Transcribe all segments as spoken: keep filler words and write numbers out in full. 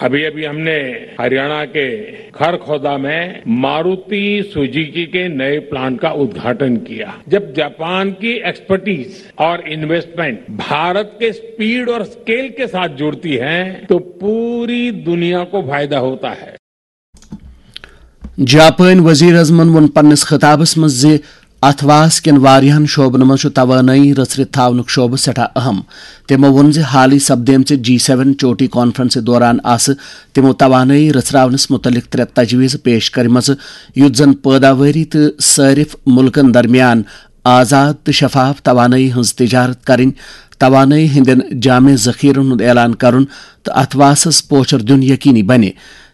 अभी अभी हमने हरियाणा के खरखोदा में मारुति सुजुकी के नए प्लांट का उद्घाटन किया। जब जापान की एक्सपर्टीज और इन्वेस्टमेंट भारत के स्पीड और स्केल के साथ जुड़ती है, तो पूरी दुनिया को फायदा होता है। جاپٲنۍ وزیر اعظمن ووٚن پننِس خطابس منٛز زِ اتھ واس کٮ۪ن واریاہن شعبن منٛز چھُ توانٲیی رژھرِتھ تھاونُک شعبہٕ سٮ۪ٹھاہ اہم۔ تِمو ووٚن زِ حالٕے سپدیمژِ جی سیون چوٹی کانفرنسہِ دوران آسہٕ تِمو توانٲیی رژھراونس مُتعلق ترٛےٚ تجویٖزٕ پیش کٔرمٕژٕ، یُتھ زن پٲداوٲری تہٕ صٲرِف مُلکن درمیان آزاد تہٕ شفاف توانٲیی ہٕنٛز تجارت کرٕنۍ، توانٲیی ہٕنٛدٮ۪ن جامع ذخیرن ہُنٛد اعلان کرُن تہٕ اتھ واسس پوچھر دیُن یقینی بنہِ۔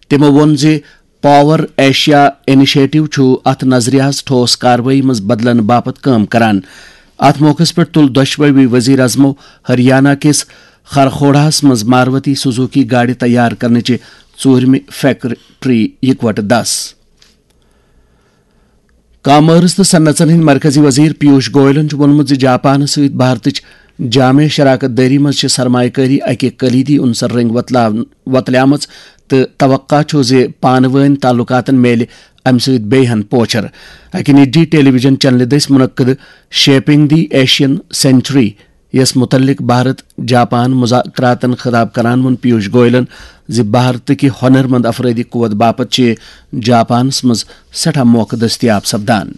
تِمو ووٚن زِ پاور ایشیا انیشیٹو چھُ اتھ نظریہس ٹھوس کاروٲیی منٛز بدلن باپتھ کٲم کران۔ اتھ موقعس پٮ۪ٹھ تُل دۄشوٕے وزیر اعظمو ہریانہ کِس خرخوڑاہس منٛز ماروتی سوزوکی گاڑِ تیار کرنٕچہِ ژوٗرمہِ فیکٹری یکوٹہٕ دس۔ کامٲرٕس تہٕ صنعژن ہٕنٛدۍ مرکزی وزیر پیوش گویلن چھُ ووٚنمُت زِ جاپانس سۭتۍ بھارتٕچ جامع شراکت دٲری منٛز چھِ سرمایہ کٲری اکہِ کلیدی عنصر رٔنٛگۍ وۄتلاون-، وۄتلیمٕژ تہٕ توقع چھُ زِ پانہٕ وٲنۍ تعلقاتن میلہِ امہِ سۭتۍ بیٚیہِ ہن پوچھر۔ اکہِ نجی ٹیلی ویژن چینلہِ دٔسۍ منعقد شیپنگ دی ایشین سینچری یس متعلق بھارت جاپان مذاکراتن خطاب کران ووٚن پیوش گویلن زِ بھارت کہِ ہۄنر مند افرٲدی قوت باپتھ چھِ جاپانس منٛز سٮ۪ٹھاہ موقعہٕ دٔستیاب سپدان۔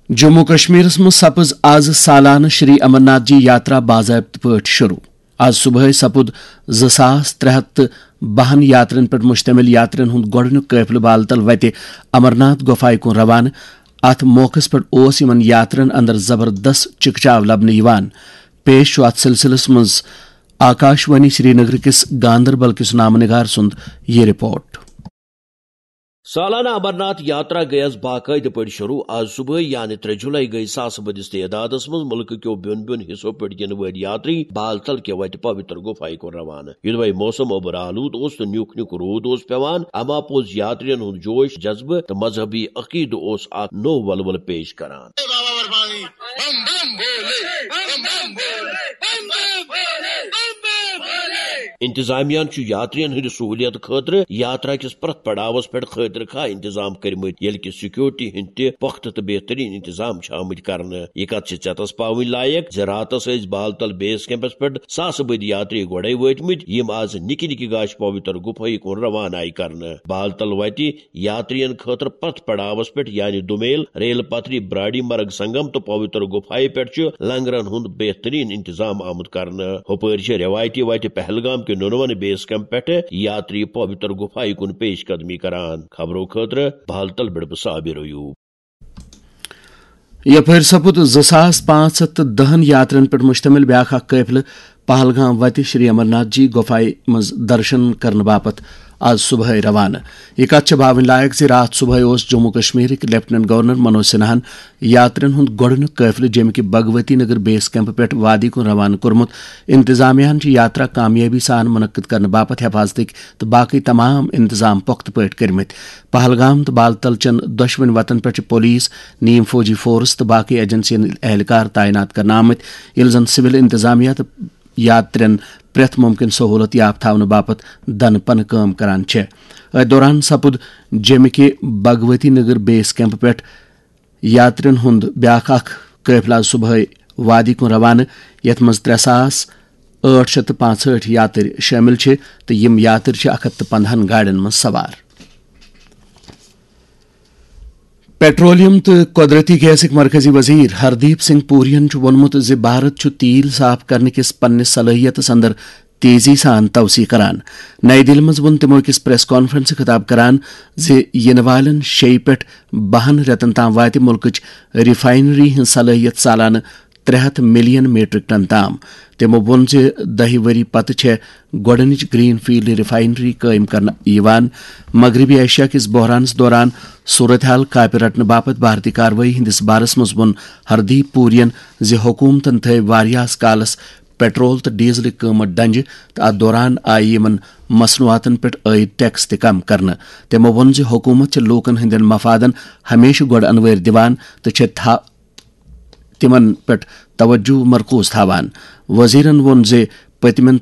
جموں کشمیرس منٛز سپٕز از سالانہٕ شری امرناتھ جی یاترا باضٲبطہٕ پٲٹھۍ شروع۔ از صبحٲے سپُد زٕ ساس ترٛےٚ ہتھ تہٕ بہن یاترین پٮ۪ٹھ مشتمل یاترین ہُنٛد گۄڈٕنیُک قٲفلہٕ بالتل وتہِ امرناتھ گۄپھایہِ کُن روانہٕ۔ اتھ موقعس پٮ۪ٹھ اوس یِمن یاترین اندر زبردست چکچاو لبنہٕ یِوان۔ پیش چھُ اتھ سلسلس منٛز آکاشوانی سرینگر کِس گاندربل کِس نامہٕ نگار سُنٛد یہِ رپورٹ۔ سالانہ امرناتھ یاترا گٔیَس باقٲعدٕ پٲٹھۍ شروع۔ آز صبحٲے یعنی ترٛےٚ جولائی گٔے ساسہٕ بٔدِس تعدادَس منٛز مُلکہٕ کیو بیوٚن بیوٚن حصو پٮ۪ٹھ یِنہٕ وٲلۍ یاتری بالتل کہِ وتہِ پویتر گُفایہِ کُن روانہٕ۔ یوٚدوے موسم اوٚبر آلود اوس تہٕ نیُک نیُک روٗد اوس پٮ۪وان، اما پوٚز یاترین ہُنٛد جوش، جذبہٕ تہٕ مذہبی عقیدٕ اوس اکھ نوٚو ولولہٕ پیش کران۔ انتظامیہ ہن چھُ یاترین ہٕنٛدِ سہوٗلیت خٲطرٕ یاترا کِس پرٛٮ۪تھ پڑاوس پٮ۪ٹھ خٲطرٕ خواہ انتظام کٔرمٕتۍ، ییٚلہِ کہِ سیکورٹی ہٕنٛدۍ تہِ پۄختہٕ تہٕ بہترین انتظام چھِ آمٕتۍ کرنہٕ۔ یہِ کتھ چھِ ژٮ۪تس پاوٕنۍ لایق زِ راتس ٲسۍ بالتل بیس کیمپس پٮ۪ٹھ ساسہٕ بٔدۍ یاتری گۄڈے وٲتمٕتۍ، یِم از نِکہِ نِکہِ گاشہِ پویتر گُفایہِ کُن روانہٕ آیہِ کرنہٕ۔ بالتل وتہِ یاترین خٲطرٕ پرٛٮ۪تھ پڑاوس پٮ۪ٹھ یعنی دومیل، ریل پتھری، براڈی مرگ سنگم تہٕ پویتر گُفایہِ پٮ۪ٹھ چھُ لنگرن ہُنٛد بہترین انتظام آمُت کرنہٕ۔ ہُپٲرۍ چھِ رٮ۪وایتی وتہِ پہلگام کہِ نُنون بیس کیمپ پٮ۪ٹھٕ یاتری پویتر گُفایہِ کُن پیش قدمی کران۔ خبرو خٲطرٕ بالتل پٮ۪ٹھ بہٕ صابر ایوب۔ یپٲرۍ سپُد زٕ ساس پانٛژھ ہتھ تہٕ دہن یاترین پٮ۪ٹھ مشتمل بیاکھ اکھ قٲفلہٕ پہلگام وتہِ شری امرناتھ جی گۄپھایہِ منٛز درشن کرنہٕ باپتھ آز صبحٲے روانہٕ۔ یہِ کتھ چھےٚ باوٕنۍ لایق زِ راتھ صبحٲے اوس جموں کشمیرٕکۍ لیفٹیننٹ گورنر منوج سنہاہن یاترین ہُنٛد گۄڈٕنیُک قٲفلہٕ جیٚمہِ کہِ بھگوتی نگر بیس کیمپ پٮ۪ٹھ وادی کُن روانہٕ کوٚرمُت۔ انتظامیہ ہن چھِ یاترا کامیٲبی سان منعقد کرنہٕ باپتھ حفاظتٕکۍ تہٕ باقٕے تمام انتظام پۄختہٕ پٲٹھۍ کٔرمٕتۍ۔ پہلگام تہٕ بالتل چٮ۪ن دۄشوٕنۍ وتن پٮ۪ٹھ چھِ پولیس، نیم فوجی فورس تہٕ باقٕے ایجنسین ہٕنٛدۍ اہلکار تعینات کرنہٕ آمٕتۍ، ییٚلہِ زن سول انتظامیہ تہٕ یاترین پرٛٮ۪تھ مُمکِن سہوٗلت یاب تھاونہٕ باپتھ دنہٕ پنہٕ کٲم کران چھےٚ۔ أتھۍ دوران سپُد جیٚمہِ کہِ بھگوتی نگر بیس کیمپ پٮ۪ٹھ یاترین ہُنٛد بیاکھ اکھ قٲفلہٕ آز صبحٲے وادی کُن روانہٕ، یتھ منٛز ترٛےٚ ساس ٲٹھ شیٚتھ تہٕ پانٛژہٲٹھ یاترۍ شٲمِل چھِ تہٕ یِم یاترۍ چھِ اکھ ہتھ تہٕ پندہن گاڑٮ۪ن منٛز سوار۔ پیٹرولیم تہٕ قۄدرٔتی گیسٕکۍ مرکزی وزیر ہردیپ سنگھ پوریَن چھُ ووٚنمُت زِ بھارت چھُ تیل صاف کرنہٕ کِس پننِس صلٲحیتَس اندر تیزی سان توسیع کران۔ نئی دِلہِ منٛز ووٚن تِمَو أکِس پریس کانفرنسہِ خطاب کران زِ یِنہٕ والٮ۪ن شیٚیہِ پٮ۪ٹھ بَہَن رٮ۪تَن تام واتہِ مُلکٕچ ریفائنری ہٕنٛز صلٲحیت سالانہٕ ترٛےٚ ہَتھ ملین میٹرک ٹن تام۔ تِمَو ووٚن زِ دَہہِ ؤری پتہٕ چھےٚ گۄڈٕنِچ گرین فیلڈ ریفائنری قٲیِم کرنہٕ یِوان۔ مغربی ایشیا کِس بحرانَس دوران صورتحال کاپہِ رٹنہٕ باپتھ بھارتی کاروٲیی ہٕنٛدِس بارس منٛز ووٚن ہردیپ پوریَن زِ حکوٗمتَن تھٲوۍ واریاہَس کالَس پیٹرول تہٕ ڈیزلٕکۍ قۭمت ڈنجہِ تہٕ اَتھ دوران آیہِ یِمَن مصنوعاتَن پٮ۪ٹھ عٲید ٹیکس تہِ کم کرنہٕ۔ تِمَو ووٚن زِ حکوٗمت چھِ لوٗکَن ہٕنٛدٮ۪ن مفادَن ہمیشہٕ گۄڈٕ انوٲرۍ دِوان تہٕ چھےٚ تھا-، تِمَن پٮ۪ٹھ توجہ مرکوز تھاوان۔ وزیرَن ووٚن زِ پٔتمٮ۪ن